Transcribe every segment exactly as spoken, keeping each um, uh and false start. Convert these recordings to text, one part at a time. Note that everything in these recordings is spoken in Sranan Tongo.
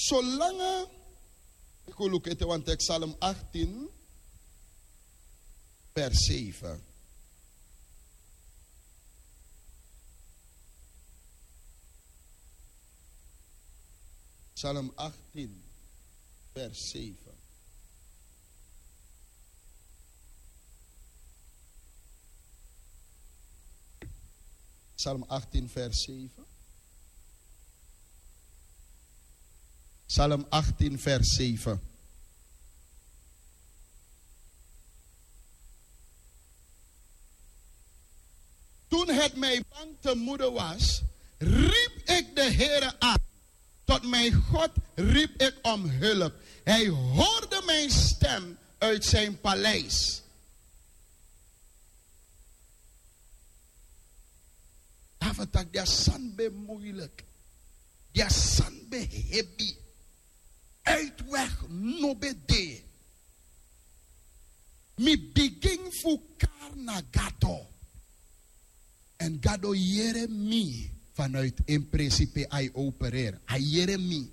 Solanga, ik wil ook ete want ik Psalm achttien, vers zeven. Psalm achttien, vers zeven. Psalm achttien, vers zeven. Psalm achttien, vers zeven. Toen het mij bang te moede was, riep ik de Heere aan. Tot mijn God riep ik om hulp. Hij hoorde mijn stem uit zijn paleis. David taki dia sani ben moeilijk. Dia sani ben hebi. Uitweg no ben de. Mi bigin fu kari na Gado. En Gado yere mi vanuit en presi pe a e opereri. A yere mi.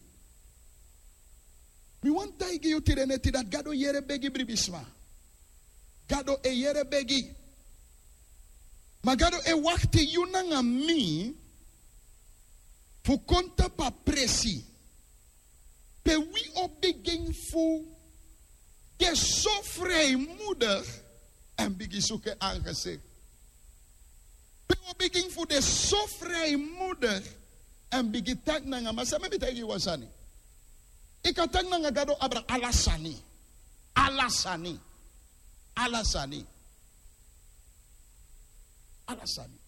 Mi wani taigi yu tide neti dati Gado yere begi bribisma. Gado e yere begi. Ma Gado e wakti yu nanga mi fu kon tapu a presi pe wi o bigin fu de so vrijmoedig en bigin suku en aangezicht. Pe wi o bigin fu de so vrijmoedig en bigin taki nanga, ma san mi e taigi yu wan sani. Yu kan taki nanga Gado abra ala sani. Ala sani. Ala sani. Ala sani.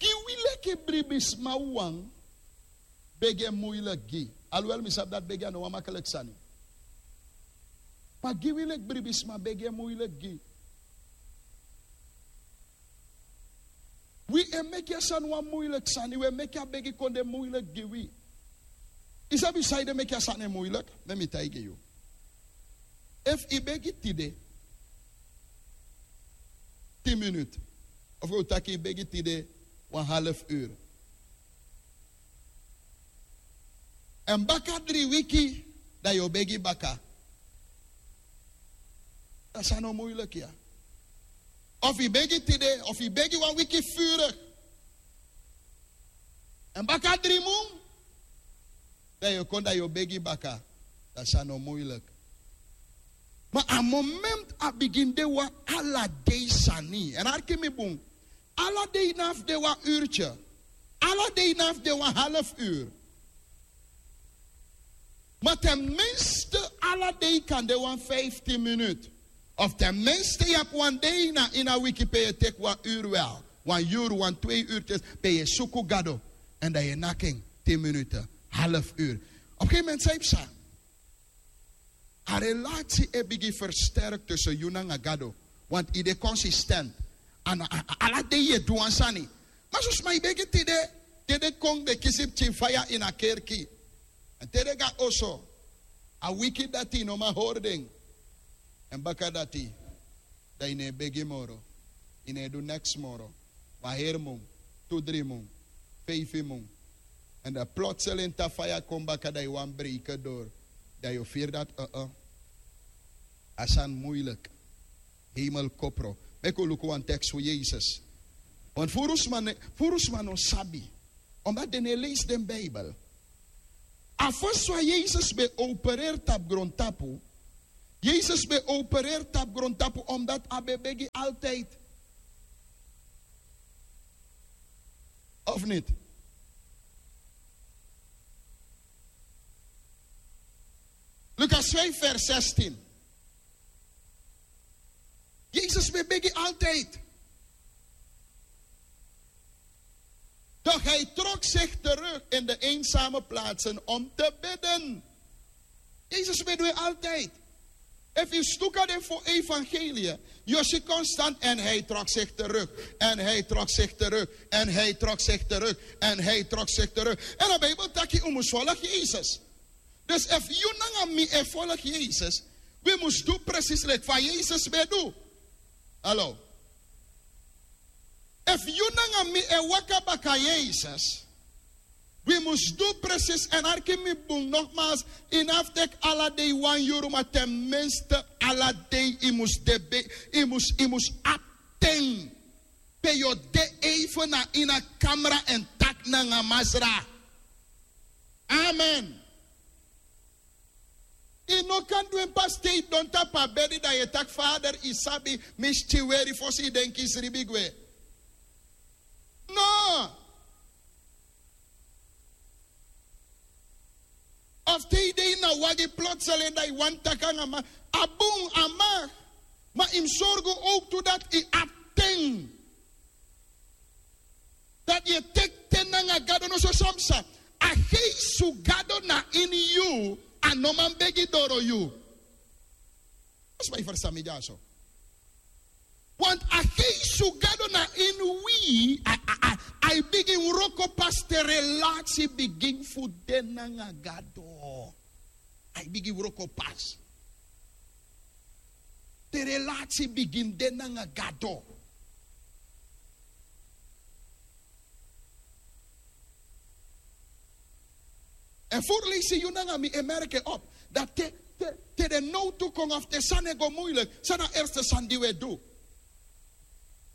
Gi wi leki bribisma wan begi e moeilijk gi. Alwel mi sabi dati begi a no wan makkelijk sani. Ma gi wi leki bribisma begi e moeilijk gi. Wi e meki a sani wan moeilijk sani, wi e meki a begi kon de moeilijk gi wi. Yu sabi san ede meki a sani e moeilijk? Mek mi taigi yu. Efu yu begi tide tin minut, of wi o taki yu begi tide wan half uru, en baka dri wiki dan yu o begi baka. Dan san no moeilijk ya. Of yu begi tide, of yu begi wan wiki vurig, en baka dri mun dan yu o kon dan yu o begi baka. Dan san no moeilijk. Ma a moment a bigin de wan ala dei sani, en arki mi bun. Ala dei na fu de wan uurtye. Ala dei na fu de wan half uur. Ma ten minste ala dei kan de wan vijftien minuut. Of ten minste yu abi wan dei na ini a wiki pe yu e teki wan uur wel, wan yuru, wan twee uurtye, pe yu e suku Gado. En dan yu e naki en tin minuten, half uur. Op gegeven moment san yu psa. A relasi e bigin versterk tussen yu nanga Gado. Want yu de consistent. Ala dei yu e du wan sani. Ma susma yu begi tide, tide kon de kisi pikin faya ini a kerki. En tide go na oso, a wiki dati yu no man hori den. En baka dati dan yu no e begi moro. Yu no e du neks moro. Wan heri mun, tu dri mun, feifi mun. En dan plotseling te a faya kon baka dan yu wani breke dori. Dan yu o firi dati, a sani muilik. Heimel kopro. Meki un luku wan teks fu Yesus. Want furu sma no sabi, omdat den no e leisi den Bijbel. A fosi wan Yesus ben opereri tapu grontapu. Yesus ben opereri tapu grontapu omdat a ben begi altijd. Of niti? Lukas vijf vers zestien. Yesus ben begi altijd. Doch hij trok zich terug in de eenzame plaatsen om te bidden. Yesus ben du en altijd. Efu yu stuka den fo evangelie, yu o si constant: en hij trok zich terug, en hij trok zich terug, en hij trok zich terug, en hij trok zich terug. En a Bijbel taki un mus volg Yesus. Dus efu yu nanga mi e volg Yesus, wi mus du precies leki fa Yesus ben du. Hallo. Efu yu nanga mi e waka baka Yesus, wi mus du presis. Èn arki mi bun, nogmaals, yu no abi fu teki ala dei wan yuru, ma ten minste ala dei yu mus de be, yu mus, yu mus abi ten pe yu o de even na ini a kamra èn taki nanga Masra. Amen. Yu no kan du en pasi te yu don tapu a bedi, dan yu e taki: Fader, yu sabi, mi stiweri fosi yu denki sribi gwe. No. Of te yu de ini a wagi, plotseling dan yu wani taki nanga Masra. A bun, a mag. Ma yu mus sorgu ook tu dati yu abi ten. Dati yu e teki ten nanga Gado. No, so san psa. A Geest fu Gado na ini yu, a no man begi doro yu. Als wij verstaan mi dyaso. Want a Geest fu Gado na ini wi, a, a, a, a e bigin wroko pas te relasi bigin fu de nanga Gado. A e bigin wroko pas te relasi bigin de nanga Gado. Èn fu leisi yu nanga mi e merki en op. Dati te, te, te den nowtu kon of te sani e go muiliki, san na a eerste sani di wi e du?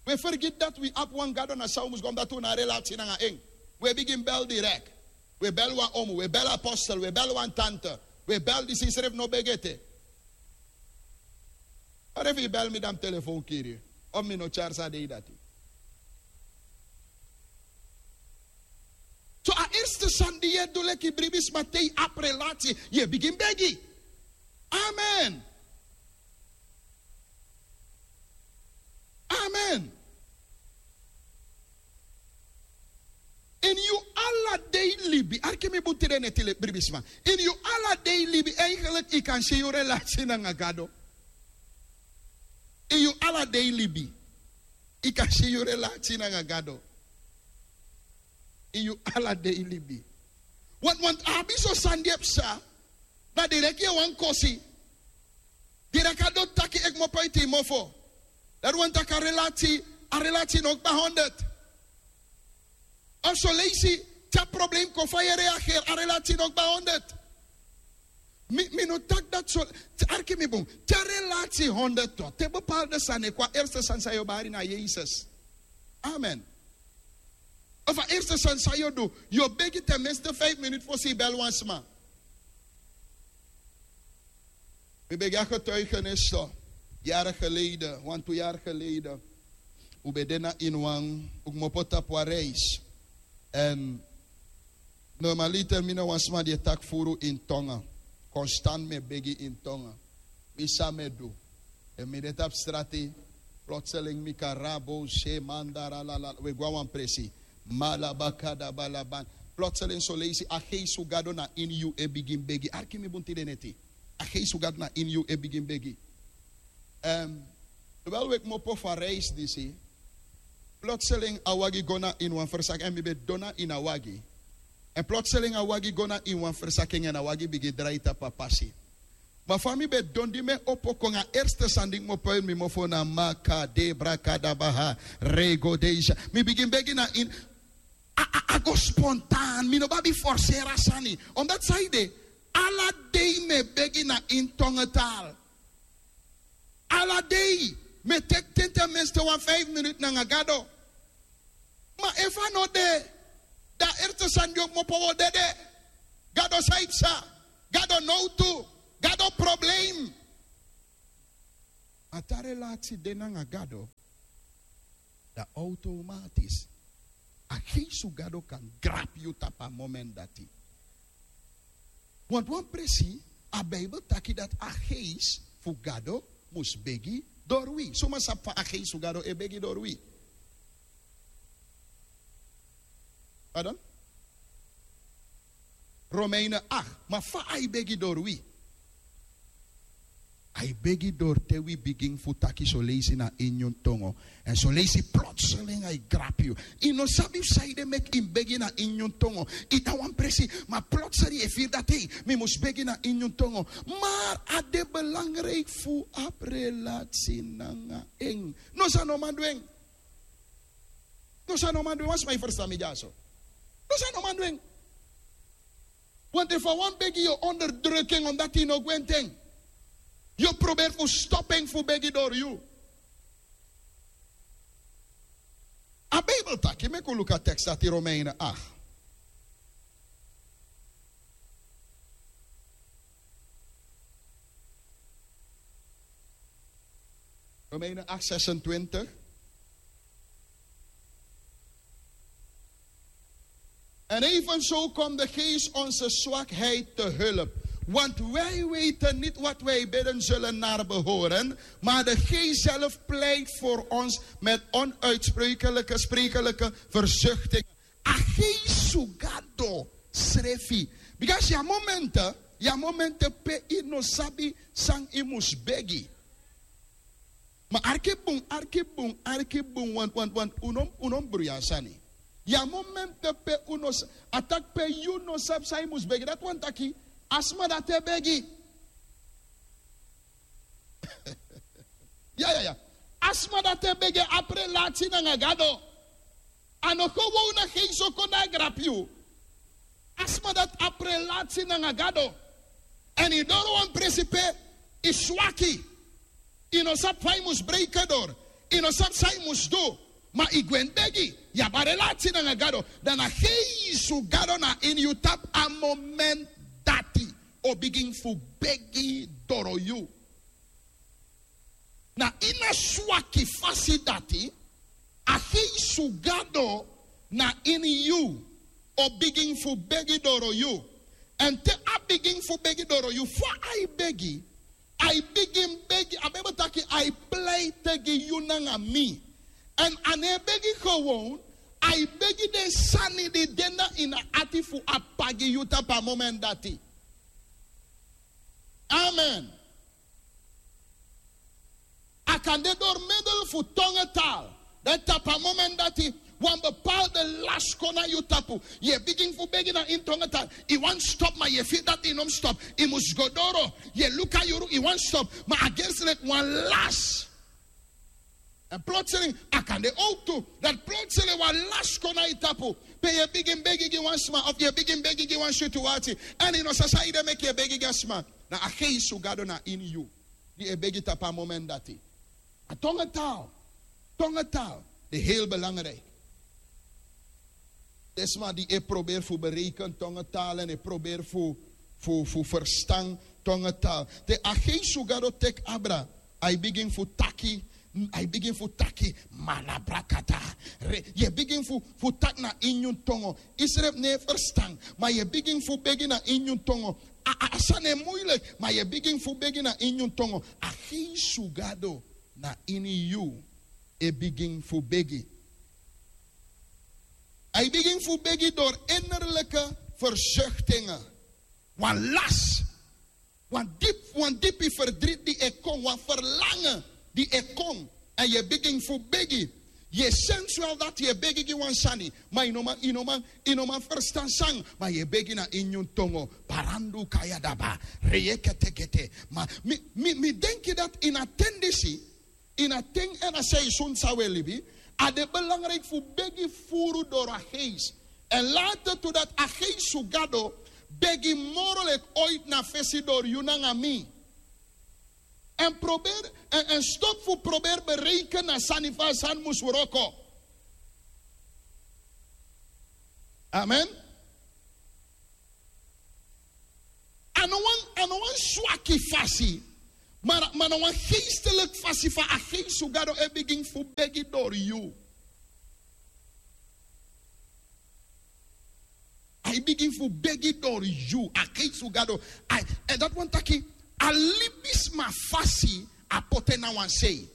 Wi e fergiti dati wi abi wan Gado, na san wi mus go, dati wi no abi relasi nanga en. Wi e bigin bel direct. Wi e bel wan omu, wi e bel apostel, wi e bel wan tante, wi e bel disi, srefi no begi ete. Ora efu yu bel mi, dan mi telefon kiri, of mi no tyari san a dei dati. So a eerste sani di yu e du leki bribisma te yu abi relasi, yu e bigin begi. Amen. Amen. Ini yu ala dei libi, arki mi bun tide neti, bribisma. Ini yu ala dei libi, eigenlijk yu kan si yu relasi nanga Gado. Ini yu ala dei libi, yu kan si yu relasi nanga Gado. Ini yu ala dei libi. Want, want a abi so sani di e psa, na direct yu e wani kosi. Direct a doti taki e kmopo ini yu mofo. Dati wani taki a relasi, a relasi no kba honderd. Of so leisi te a problem kon, fa yu e reageri, a relasi no kba honderd. Mi, mi no taki dati so, te, arki mi bun. Te a relasi honderd, te bepaalde sani e kon, a eerste sani san yu o bari na Yesus. Amen. Of a eerste sani san yu o du, yu o begi ten minste vijf minuten fosi yu bel wan sma. Mi ben gi a getuigenis so, jaren geleden, wantu yari geleden. Un ben de na ini wan, un kmopo tapu wan reis. Èn normaliter mi na wan sma di e taki furu ini tongen. Konstant mi e begi ini tongen. Mi san mi e du. Èn mi de tapu strati, plotseling mi karabo se mandara lala, we go na wan presi. Malabakada balaban. Plotseling so leisi a Geest fu Gado na ini yu e bigin begi. Arki mi bun tide neti. A Geest fu Gado na ini yu e bigin begi. Ehm, terwijl we kmopo fu a reis disi, plotseling a wagi go na ini wan verzaking, èn mi ben didon na ini a wagi. Èn plotseling a wagi go na ini wan verzaking èn a wagi bigin drai tapu a pasi. Ma fa mi ben didon, di mi e opo kon, a eerste sani di kmopo ini mi mofo na maka de brakada baha rego deja. Mi bigin begi na ini, a, a, a go spontaan, mi no ben abi forseri a sani. Omdat san ede, ala dei mi e begi na ini tongental. Ala dei mi e teki ten, ten minste wan vijf minuten nanga Gado. Ma efu a no de, dan a eerste sani di o kmopo, wi o dede. Gado, san yu psa? Gado, nowtu. Gado, problem. Ma te a relasi de nanga Gado, dan automatisch a Geest fu Gado kan grabi yu tapu a moment dati. Want wan presi, a Bijbel taki dati a Geest fu Gado mus begi dori wi. Suma sabi fa a Geest fu Gado e begi dori wi? Pardon? Romeinen acht. Ma fa a e begi dori wi? A e begi dori te wi bigin fu taki son leisi na ini nyun tongo. Èn son leisi plotseling a e grabi yu. Yu no sabi fu san ede meki yu mus begi na ini nyun tongo. Yu de na wan presi, ma plotseling yu e firi dati: ei, mi mus begi na ini nyun tongo. Maar a de belangrijk fu abi relasi nanga en. Noso a no man du en. Dus a no man du en, wan sma e ferstan mi dyaso. Dus a no man du en. Want efu a wan begi yu o onderdruk en, omdat yu no gwenti en, yu o proberi fu stop en fu begi doro yu. A Bijbel taki, meki un luku a tekst dati, Romeinen acht. Romeinen acht, zesentwintig. En evenzo komt de geest onze zwakheid te hulp. Want wij weten niet wat wij bidden zullen naar behoren, maar de geest zelf pleit voor ons met onuitsprekelijke, sprekelijke verzuchtingen. A geest fu Gado srefi. Because yu a momenti, yu a momenti pe yu no sabi san yu mus begi. Ma arki bun, arki bun, arki bun, want, want, want, un no, un no bruya sani. Yu a momenti pe un no s-, a taki pe yu no sabi san yu mus begi. Dati wani taki, a sma dati e begi. Ya, ya, ya. A sma dati e begi abi relasi nanga Gado. A no kon wowna geest o kon na e grabu yu. A sma dati abi relasi nanga Gado. Èn yu doro wan presi pe yu swaki. Yu no sabi fa yu mus breiki doro. Yu no sabi san yu mus du. Ma yu gwe begi. Yu abi a relasi nanga Gado. Dan a geest fu Gado na ini yu tapu a momenti dati o bigin fu begi doro yu. Na ini a swaki fasi dati, a geest fu Gado na ini yu o bigin fu begi doro yu. Èn te a bigin fu begi doro yu, fa a e begi? A e bigin begi, a Bijbel taki a e pleiti gi yu nanga mi. Èn a no e begi gewoon, a e begi den sani di de na ini a ati fu P'pa gi yu tapu a momenti dati. Amen. A kan de door middel fu tongentaal. Dan tapu a momenti dati wan bepaalde last kon na yu tapu. Yu e bigin fu begi na ini tongentaal. Yu wani stop, ma yu e firi dati yu no mus stop. Yu mus go doro. Yu e luku a yuru, yu wani stop. Ma a gersi leki wan last. Èn plotseling, a kan de owktu, dati plotseling wan last kon na yu tapu. Pe yu e bigin begi gi wan sma, of yu e bigin begi gi wan situwasi. Èn yu no sabi san ede meki yu e begi gi a sma. Na a geest fu Gado na ini yu. Di e begi tapu a momenti dati. A tongentaal. Tongentaal. De heel belangrijk. Den sma di e proberi fu bereiken tongentaal èn e proberi fu, fu, fu ferstan tongentaal. Te a geest fu Gado teki abra, a e bigin fu taki, a e bigin fu taki, malabrakata. Re-, yu e bigin fu, fu taki na ini yu tongo. Yu srefi no e ferstan, ma yu e bigin fu begi na ini yu tongo. A, a, a sani e moeilijk, ma yu e bigin fu begi na ini yu tongo. A geest fu Gado na ini yu e bigin fu begi. A e bigin fu begi door innerlijke verzuchtingen. Wan last, wan dipi, wan dipi verdriet di e kon, wan verlangen di e kon. Èn yu e bigin fu begi. Yu e sensueel dati yu e begi gi wan sani. Ma yu no man, yu no man, yu no man ferstan san. Ma yu e begi na ini yu tongo. Parandu kaya daba. Reyeketekete. Ma mi, mi, mi denki dati ini a ten disi, ini a ten èn a seizoen san wi e libi, a de belangrijk fu begi furu door a geest. Èn later tu dati a geest fu Gado begi moro leki ooit na fesi door yu nanga mi. Èn proberi, èn, èn stop fu proberi bereiken na sani fa a sani mus wroko. Amen. A no wan, a no wan swaki fasi, ma, ma na wan geestelijk fasi fa a geest fu Gado e bigin fu begi door yu. A e bigin fu begi door yu, a geest fu Gado. A, èn dati wani taki, a libisma fasi a poti en na wan sei.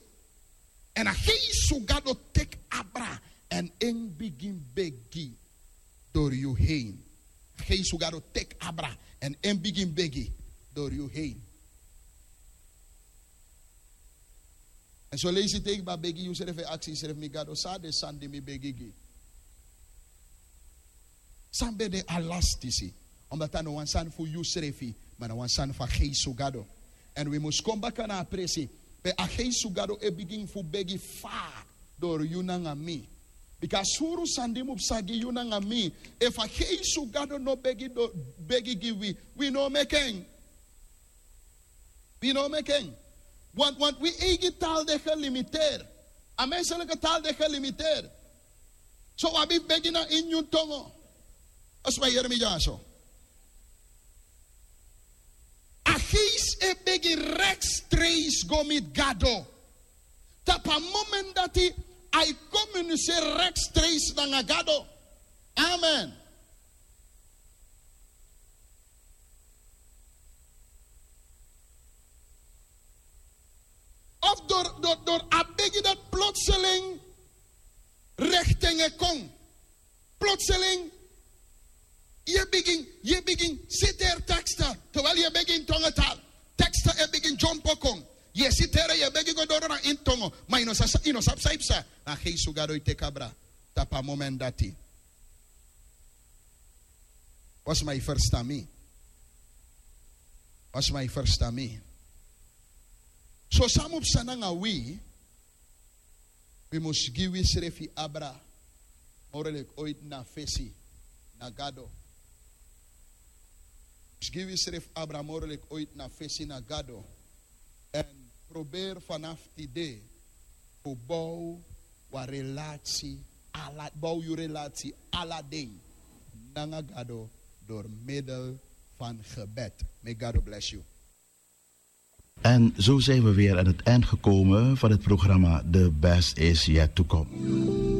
Èn a geest fu Gado teki abra èn en bigin begi door yu heen. A geest fu Gado teki abra èn en bigin begi door yu heen. Èn son leisi te yu kba begi, yusrefi e aksi yusrefi, mi Gado, san na den sani di mi begi gi? San ben de a last disi? Omdat a no wan sani fu yusrefi, ma na wan sani fu a geest fu Gado. Èn wi mus kon baka na a presi pe a geest fu Gado e bigin fu begi fa door yu nanga mi. Bika a suru sani di mus psa gi yu nanga mi. Efu a heisu gado no begi gi wi, wi no o meki en. Wi no o meki en. Want wi eigi taal de gelimiteer. A menselike taal de gelimiteer. So wi abi fu begi na ini nyun tongo. Osi wan yere mi dyaso. A geisi e begi rekstreisi go miti gado. Tapu a moment dati a e komuniseri rekstreisi nanga gado. Amen. Of dori a begi dati plotseling rekti en e kon. Plotseling yu e bigin, yu e bigin siteri teksta. Tewel yu e bigin tongo taal. Teksta e bigin dyompo kon. Yu e siteri, yu e bigin go doro na ini tongo. Ma yu no sabi san yu psa. Na a heisu gado e teki abra tapu a moment dati. Wan sma e ferstan mi? Wan sma e ferstan mi? So san mus psa nanga wi? Wi mus gi wisrefi abra moro leki oiti na fesi na gado. Mus gi wisrefi abra moro leki oiti na fesi na gado. Èn proberi fanafu tide fu bow wan relasi ala bow yu relasi ala dei nanga gado dori middel fan gebed. Meki gado blesi yu. En zo zijn we weer aan het eind gekomen van het programma The Best Is Yet To Come.